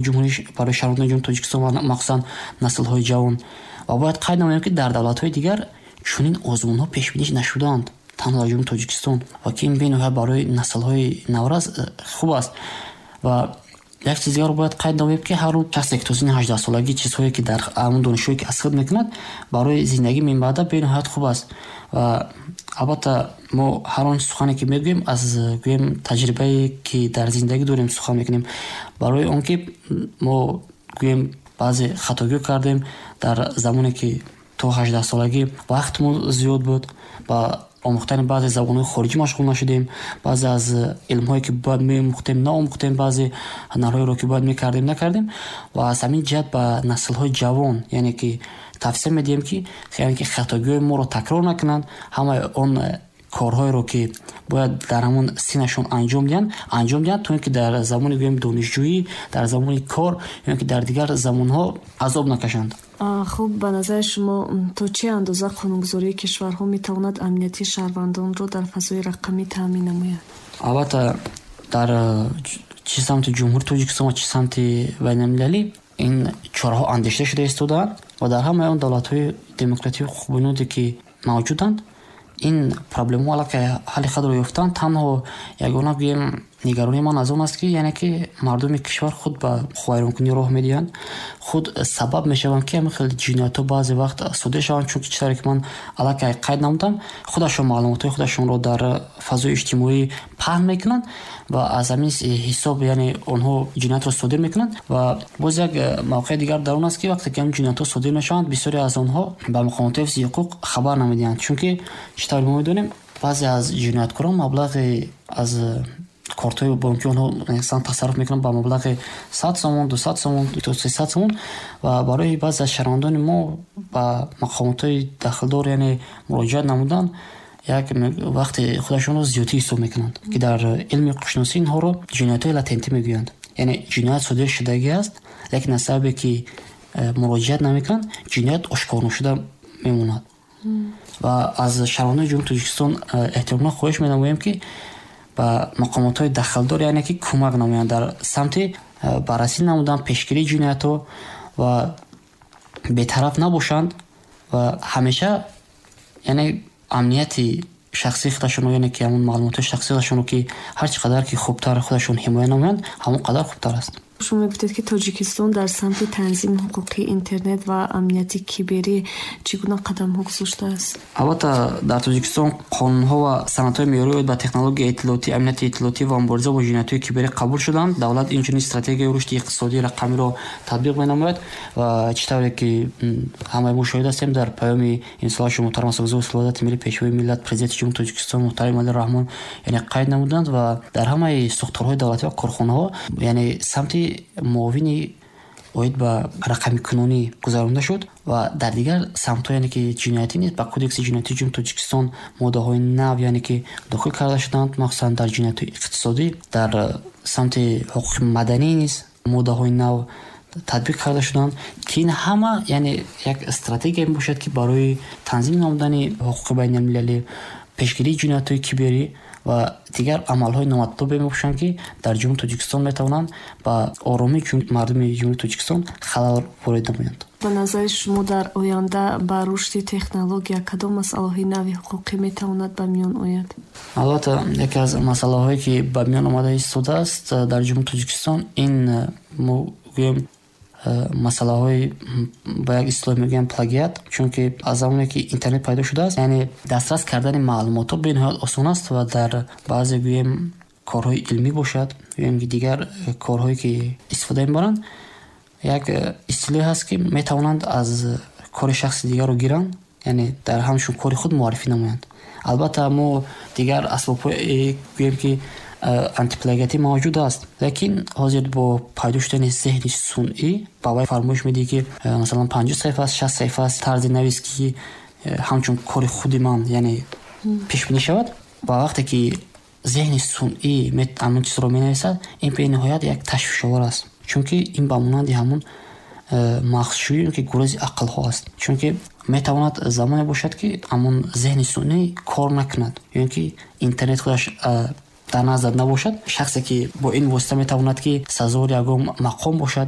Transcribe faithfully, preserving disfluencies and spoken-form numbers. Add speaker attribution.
Speaker 1: Ҷумҳурӣ, барои шаҳрвандони Ҷумҳурии Тоҷикистон ва махсусан наслҳои ҷавон. Ва бояд қайд намоем, ки дар давлатҳои дигар чунин озмунҳо пешбинӣ нашудаанд, танҳо дар Ҷумҳурии Тоҷикистон, ва ки ин бениҳоят барои наслҳои наврас э, хуб аст. Ва як чиз дигарро бояд қайд намоем, ки ҳар шахсе, ки то синни ҳаждаҳсолагӣ чизҳое, ки дар ҳамон донишҳое, ки аз худ мекунад, барои зиндагӣ минбаъда бениҳоят хуб аст. Ва албатта, мо ҳар он сухане, ки мегӯем, аз, гӯем, таҷрибае, ки дар зиндагӣ дорем, сухан мекунем, барои он ки мо, гӯем, баъзе хатогиҳо кардем. Дар замоне, ки то ҳаждаҳсолагӣ вақтмон зиёд буд, ба омӯхтани баъзе забонҳои хориҷӣ машғул нашудем, баъзе аз илмҳое, ки бояд меомӯхтем, наомӯхтем, баъзе ҳунарҳоеро, ки бояд мекардем, накардем. Ва аз ҳамин ҷиҳат ба наслҳои ҷавон, яъне ки, тавсия медиҳем, ки, яъне ки, хатогиҳои моро такрор накунанд, ҳамаи он корҳоеро, ки бояд дар ҳамон синнашон анҷом диҳанд, анҷом диҳанд, то ин ки дар замони, гӯем, донишҷӯӣ, дар замони кор ё ки дар дигар замонҳо азоб накашанд.
Speaker 2: Хуб, ба назари шумо, то чӣ андоза қонунгузории кишварҳо метавонад амнияти шаҳрвандонро дар фазои рақамӣ таъмин намояд?
Speaker 1: Албатта, дар чӣ самти Ҷумҳурии Тоҷикистон ва чӣ самти байналмилалӣ ин чораҳо андешида шуда истодаанд ва дар ҳамаи он давлатҳои демократию ҳуқуқбунёде, ки мавҷуданд, ин проблемаҳо аллакай ҳалли худро ёфтанд. Танҳо ягона, гӯем, нигаронии ман аз он аст, ки, яъне ки, мардуми кишвар худ ба ҳуқуқвайронкунӣ роҳ медиҳанд, худ сабаб мешаванд, ки ҳамин хел ҷиноятҳо баъзе вақт содир шаванд, чунки чӣ тавре ки ман аллакай қайд намудам, худашон маълумотҳои худашонро дар фазои иҷтимоӣ паҳн мекунанд ва аз ҳамин ҳисоб, яъне, онҳо ҷиноятро содир мекунанд. Ва боз як мавқеи дигар дар он аст, ки вақте ки ҳамин ҷиноятҳо содир мешаванд, бисёре аз онҳо ба мақомоти ҳифзи ҳуқуқ хабар намедиҳанд, чунки чӣ тавре мо медонем, баъзе аз ҷинояткорон маблағи аз кортҳои бонкии онҳо, масалан, тасарруф мекунанд ба маблағи сад сомон, дусад сомон то сесад сомон. Ва барои баъзе аз шаҳрвандони мо ба мақомотҳои дахлдор, яъне, муроҷиат намудан як вақти худашонро зиёдтӣ ҳисоб мекунанд, ки дар илми ҳуқуқшиносӣ инҳоро ҷиноятҳои латентӣ мегӯянд, яъне ҷиноят содир шудагӣ аст, лекин аз сабабе, ки э, муроҷиат намекунанд, ҷиноят ошкор нашуда мемонад. Ва аз шаҳрвандони Ҷумҳурии Тоҷикистон э, эҳтиромона хоҳиш менамоем, ки ба мақомотҳои дахлдор, яъне ки, кӯмак намоянд дар самти э, баррасӣ намудан, пешгирии ҷиноятҳо ва бетараф набошанд ва ҳамеша, яъне, амнияти шахсии худашонро, яъне ки, ҳамон маълумотҳои шахсии худашонро, ки ҳар чӣ қадар ки хубтар худашон ҳимоя намоянд, ҳамон қадар хубтар аст.
Speaker 2: Шумо мегуфтед, ки Тоҷикистон дар самти танзими ҳуқуқии интернет ва амнияти киберӣ чӣ гуна қадамҳо гузоштааст?
Speaker 1: Албатта, дар Тоҷикистон қонунҳо ва санадҳои меъёрӣ оид ба технологияи иттилоотӣ, амнияти иттилоотӣ ва мубориза бо ҷиноятҳои киберӣ қабул шуданд. Давлат инчунин стратегияи рушди иқтисодии рақамиро татбиқ менамояд. Ва чӣ тавре ки ҳамаи мо шоҳид ҳастем, дар паёми имсолаашон муҳтарам Асосгузори сулҳу ваҳдати миллӣ, Пешвои миллат, Президенти Ҷумҳурии Тоҷикистон муҳтарам Эмомалӣ Раҳмон, яъне, қайд намуданд ва дар ҳамаи сохторҳои давлатӣ ва корхонаҳо, яъне, самти муовини оид ба рақамикунонӣ гузаронда шуд. Ва дар дигар самтҳо, яъне ки, ҷиноятӣ низ ба Кодекси ҷиноятии Ҷумҳурии Тоҷикистон моддаҳои нав, яъне ки, дохил карда шуданд, махсусан дар ҷиноятҳои иқтисодӣ. Дар самти ҳуқуқи маданӣ низ моддаҳои нав татбиқ карда шуданд, ки ин ҳама, яъне, як стратегия мебошад, ки барои танзим намудани ҳуқуқи байналмилалӣ, пешгирии ҷиноятҳои киберӣ ва дигар амалҳои номатлубе мебошанд, ки дар Ҷумҳурии Тоҷикистон метавонанд ба оромии мардуми Ҷумҳурии Тоҷикистон халал ворид намоянд.
Speaker 2: Ба назари шумо, дар оянда ба рушди технология кадом масъалаҳои нави ҳуқуқӣ метавонад ба миён ояд?
Speaker 1: Албатта, яке аз масъалаҳое, ки ба миён омада истодааст дар Ҷумҳурии Тоҷикистон, ин, мо гӯем, масъалаҳои, ба як истилоҳ мегӯям, плагиат, чунки аз замоне, ки интернет пайдо шудааст, яъне, дастрас кардани маълумотҳо бениҳоят осон аст. Ва дар баъзе, гӯем, корҳои илмӣ бошад ё ин ки дигар корҳое, ки истифода мебаранд, як истилоҳе ҳаст, ки метавонанд аз кори шахси дигарро гиранд, яъне, дар ҳамчун кори худ муаррифӣ намоянд. Албатта, мо дигар асбобҳое, гӯем, ки антиплагиатӣ мавҷуд аст, лекин ҳозир бо пайдо шудани зеҳни сунъӣ ба вай фармоиш медиҳӣ, ки, масалан, панҷоҳ саҳифа аст, шаст саҳифа аст, тарзи навис, ки ҳамчун кори худи ман, яъне, пешбинӣ шавад. Ва вақте ки зеҳни сунъӣ ҳамон чизро менависад, ин бениҳоят як ташвишовар аст, чунки ин ба монанди ҳамон мағзшӯӣ ки гурези ақлҳо аст, чунки метавонад замоне бошад, ки ҳамон зеҳни сунъӣ кор накунад ё ин ки интернет худаш Дар наздат набошад шахсе, ки бо ин восита метавонад, ки сазовори ягон мақом бошад.